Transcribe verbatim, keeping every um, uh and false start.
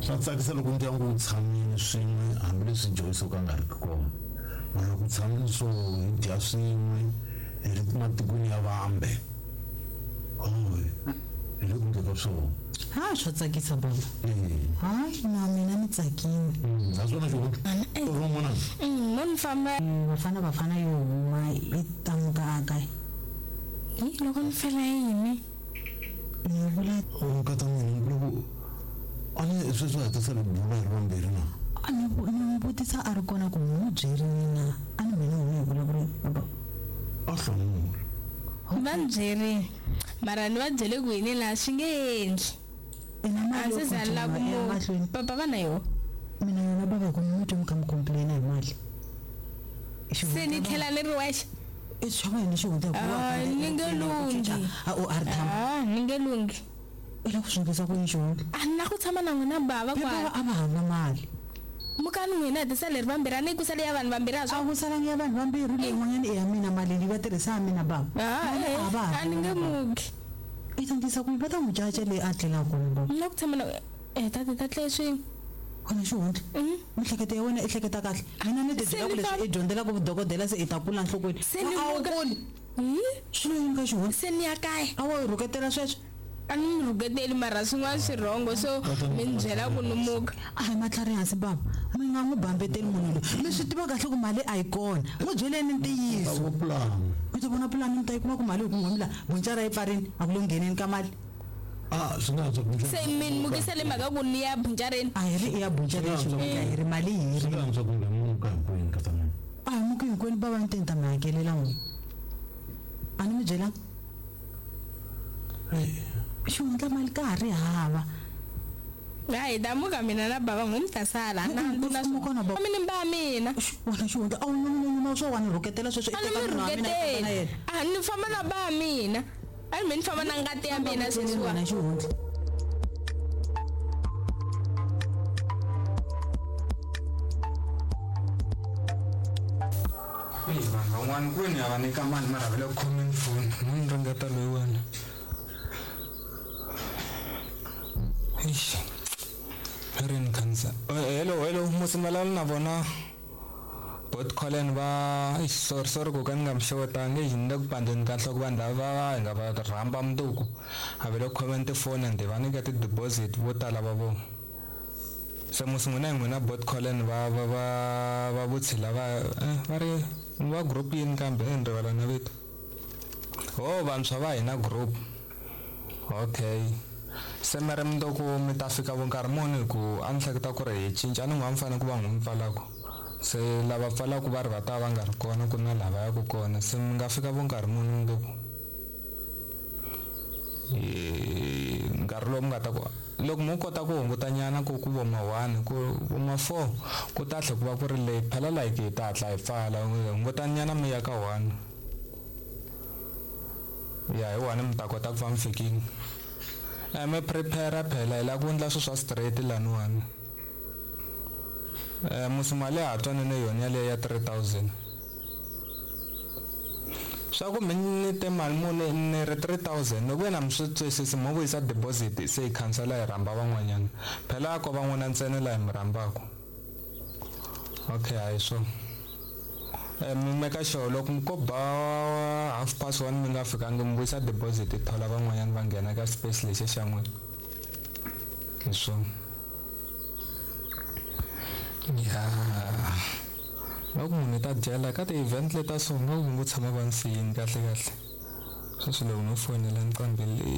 Swa tsakisa loko ndyangu wu tshamile swin'we hambileswi Joyce o ka nga ri ki kona. Mara loko tshamile swo hi dya swin'we hi ri matikweni ya vambe. Hoy, hi le ku ndleka ka swona. Ha swa tsakisa baba. Eh. Hayi na mina ni tsakile. Mm, naswona xihundla. Ro n'wana. Mm, mo ni famba Bafana Bafana yo huma i ta muka a kaya. Hi loko ni fela yini? Ni vula O nkata mina loko a ni sweswi ha ta sala bula hi ri vambirhi na. A ni vu- ni n'wi vutisa a ri kona ku n'wi byerini na a ni mina n'wi hi vulavula baba. A hlamula. Va ni byerini. Mara ni va byele ku yini laha swi nge endli. Ina A mali yo ndzi za ni lava ku continue mu emahlweni. papa va na yona. Mina yona baba ku mi twa mi kha mi complain hi mali. Se ni tlhela ni ri wexe. I swa wena xihundla hikuva Ah, ni nge lunghi. A o a ri tshama. Ah, ni nge lunghi. I lava ku swi endlisa ku yini xihundla? A ni na ku tshama na n'wina bava Phela kwala. a va hava mali. Mukani n'wina hi tisa leri vambirhi a ni ku sale ya vanhu vambirhi a A swa. ku salangi ya vanhu vambirhi leyi n'wanyana i ya mina mali leyi va tirhisa ya mina baba. Ah, Mali eh, a va ha a ni nge muki. I ta ndlisa ku yini? Va ta n'wi caca leyi a tlelaka kona baba. Ni la ku tshama na eh tata ta tlele swin'we. Wena xihundla. Miehleketo ya wena i hleketa kahle. Mina ni ti Se byela ku ni leswi famba- i dyondzelaka vudokodela se i ta kula nhlokweni. Se ni A wu muka- kuli. Hi? Swi lo yini ka xihundla? Se ni ya kaya. A wo yi rhuketela sweswo? A ni mi rhuketeli mara swin'wana swi rhongo so mi ni byela ku ni muka. A hi matlhari hansi baba. Mi nga n'wi bambeteli munhu loyi. Mi swi tiva kahle ku mali a yi kona. N'wi byeleni ntiyiso. Vo plan. Mi ta vona pulani mi ta yi kuma ku mali hi ku n'wi la buncara yi pfarini a ku le ngheneni ka mali. Ah, swi nga antswa ku Se mi ni mukisele mhaka ku ni ya buncareni. A hi ri i ya buncara xihundla hi ri mali hi Swi ri. nga antswa ku nga muka hinkwenu nkata mina. A hi muki hinkwenu baba ni te ni ta mi hakelela n'wina. A ni mi byelanga? Xihundla mali ka ha ri hava. Hayi ta muka mina na bava n'wi mi ta sala. Na Mm, na ku kona baba. mi ni ba mina. Wena xihundla a wu nyuma swo wa ni rhuketela sweswo i A ni teka mi munhu wa mina i famba na rhuketeli. yena. A ni famba na ba mina. A ni mi ni famba na ngati ya mina sweswiwa. Wena xihundla. Eyi vanhu van'wana kwini a va nyika mali mara va le ku khomeni foni mo ni ringeta loyiwani eish ri ni khansa hello hello musi ni vulavula na vona bot collen va eish sorry sorry ku ka ni nga mi xewetanga exi ni le ku pandzeni ka nhloko vanhu lava va hi nga va rhamba mundzuku a va le ku khomeni tifoni ende va nyika ti-deposit vo tala va vona se musi n'wina hi n'wina bot collen va va va va vutshila va eh, va ri va group yini kambe eh, ni rivala na vito ho vantshwa va hina group okay se mi ri mundzuku mi ta fika vo nkarhi muni hi ku a ni hleketa ku ri hi cinca a ni n'wi a mi fanele ku va n'wi mi pfalaku se lava pfalaku va ri va ta va nga ri kona ku na lava yaku kona se mi nga fika vo nkarhi muni mundzuku Eh, nkarhi lowu mi nga ta ku loko mo kota ku hunguta nyana ku ku vo ma one ku vo ma four ku ta tlhe ku va ku ri late phela like hi ta hatla hi pfala hunguta nyana mi ya ka one ya hi one mi ta kota ku va mi fikile eh mi prepare phela hi lava ku endla swilo swa straight laniwani eh musi mali ya ha twanene yona yaleyo ya three thousand swa ku mi ni te mali muni ni ri three thousand loko wena mi swi twisisi mo vuyisa deposit se hi khansela hi rhamba van'wanyana phela ko van'wana ntsena laha hi mi rhambaku okay hayi swona eh mi meka sure loko mi ko ba half past one mi nga fikangi mi vuyisa deposit hi thola van'wanyana va nghena ka space lexi xa n'wina hi swona ya loko munhu i ta dyela ka ti-event leta so nga ku ngo tshama va ni siyini kahle kahle sweswi loko no fonela nqambi leyi